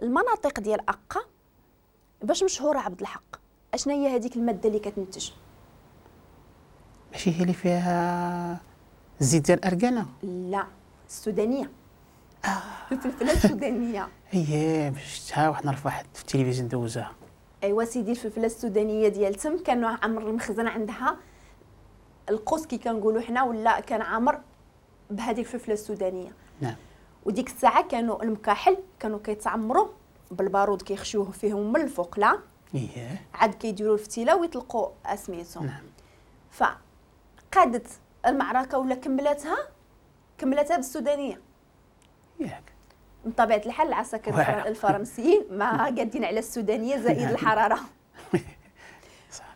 المناطق ديال أقا باش مشهورة عبد الحق، اشنا هي هذيك المادة اللي كتنتج؟ ماشي هي اللي فيها الزيت ديال الأركانة؟ لا، السودانية. الفلفلة السودانية. هي شفتها واحد النهار في واحد في التلفزيون دوزها. ايوا سيدي، الفلفلة السودانية ديال تم كانوا عمر المخزن عندها القوس كي كنقولوا حنا، ولا كان عامر بهذه الفلفلة السودانية. نعم. وديك الساعة كانوا المكاحل كانوا كيتعمروا بالبارود، كيخشوه فيهم من الفوق، لا إيه. عاد كيديروا الفتيله ويطلقوا اسميتهم. نعم. فقادت المعركة ولا كملتها بالسودانيه. ياك. من طبيعة الحال العساكر الفرنسيين ما قادين على السودانية زائد الحرارة. صح.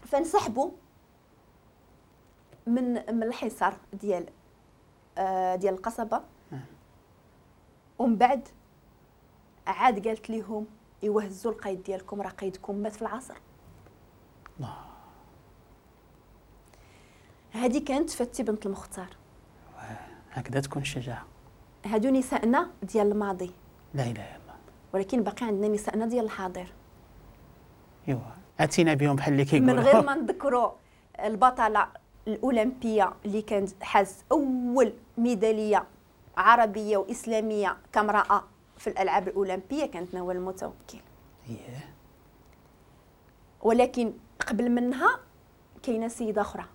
فانسحبوا من الحصار ديال القصبة. ومن بعد عاد قالت لهم ايوا هزوا القايد ديالكم، راه قايدكم مات في العصر. الله. هذه كانت فتي بنت المختار. هكذا تكون الشجاعة. هادو نسائنا ديال الماضي. لا اله الا الله. ولكن باقي عندنا نسائنا ديال الحاضر. ايوا اتينا بهم بحال اللي كيقولوا. من غير ما نذكروا البطلة الاولمبية اللي كانت حاز اول ميدالية عربية واسلامية كامراة في الالعاب الاولمبية، كانت نوال المتوكل. ايه. ولكن قبل منها كاينه سيده اخرى.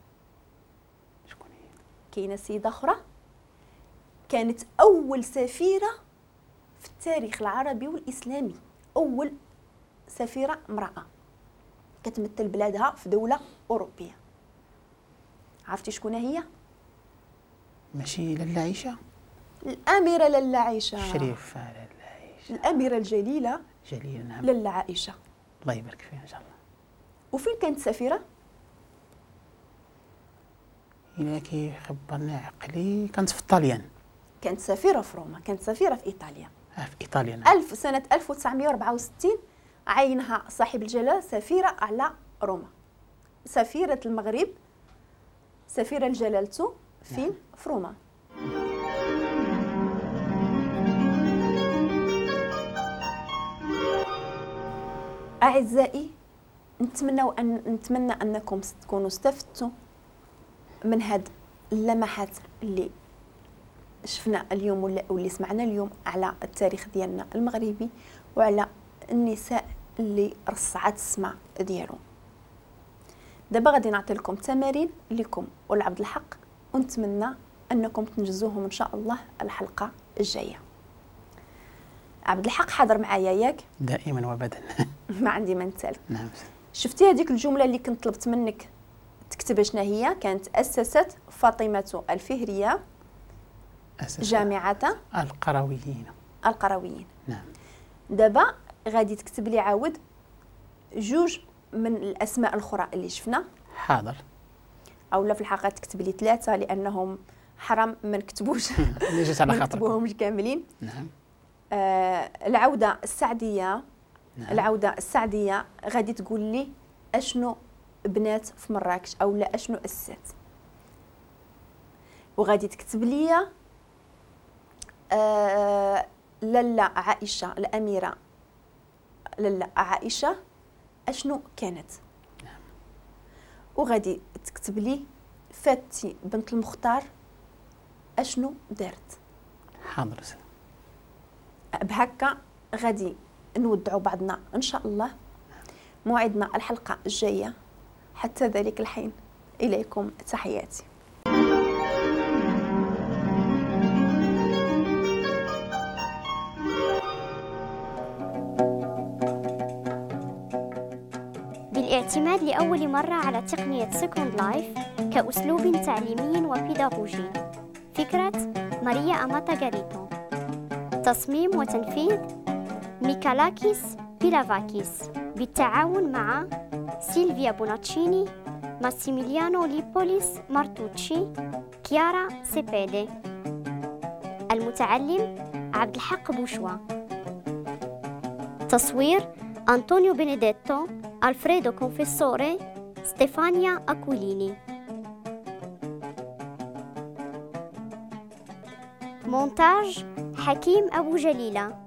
شكون هي؟ كاينه سيده اخرى كانت اول سفيره في التاريخ العربي والاسلامي، اول سفيره امراة كتمثل بلادها في دولة اوروبية. عرفتي شكون هي؟ ماشي لاله عائشة؟ الاميرة لاله عائشة. الشريفة لاله عائشة. الاميرة الجليلة. جليلة، نعم. لاله عائشة. الله يبارك فيها ان شاء الله. وفين كانت سفيره؟ إلا كيخبرني عقلي كانت في الطاليان. كانت سفيره في روما، كانت سفيره في ايطاليا. في ايطاليا، نعم. سنة 1964 عينها صاحب الجلاله سفيره على روما. سفيره المغرب، سفيره لجلالته فين؟ نعم. في روما. أعزائي، نتمنى أنكم تكونوا استفدتوا من هاد اللمحات اللي شفنا اليوم واللي سمعنا اليوم على التاريخ ديالنا المغربي وعلى النساء اللي رصعت السماء ديالو. دابا غادي نعطي لكم تمارين لكم ولعبد الحق، ونتمنى انكم تنجزوهم ان شاء الله الحلقة الجاية. عبد الحق حاضر معايا ياك؟ دائما وابدا. ما عندي ما نتسالك. نعم. شفتي هذيك الجملة اللي كنت طلبت منك تكتب شنو هي؟ كانت اسست فاطمة الفهريه جامعه القرويين. القرويين، نعم. دابا غادي تكتب لي عاود جوج من الاسماء الاخرى اللي شفنا. حاضر. او لا في الحقيقة تكتب لي ثلاثة لانهم حرام ما نكتبوش اللي جات على ما خاطركم. نكتبوهمش كاملين. نعم. العودة السعديه. نعم. العودة السعديه غادي تقول لي اشنو بنات في مراكش او لا اشنو اسست، وغادي تكتب لي لاله عائشة الاميرة لاله عائشة اشنو كانت. نعم. وغادي تكتب لي فاتي بنت المختار اشنو دارت. حاضر. بهكا غادي نودعوا بعضنا ان شاء الله. موعدنا الحلقة الجاية، حتى ذلك الحين اليكم تحياتي. بالاعتماد لأول مرة على تقنية Second Life كأسلوب تعليمي وبيداغوجي. فكرة ماريا أماتا غاريتو. تصميم وتنفيذ ميكالاكيس بيلافاكيس بالتعاون مع سيلفيا بوناتشيني، ماسيميليانو ليبوليس مارتوتشي، كيارا سيبيدي. المتعلم عبد الحق بوشوا. تصوير أنطونيو بينيديتو، ألفريدو كونفيسوري، ستيفانيا أكوليني. مونتاج حكيم أبو جليلة.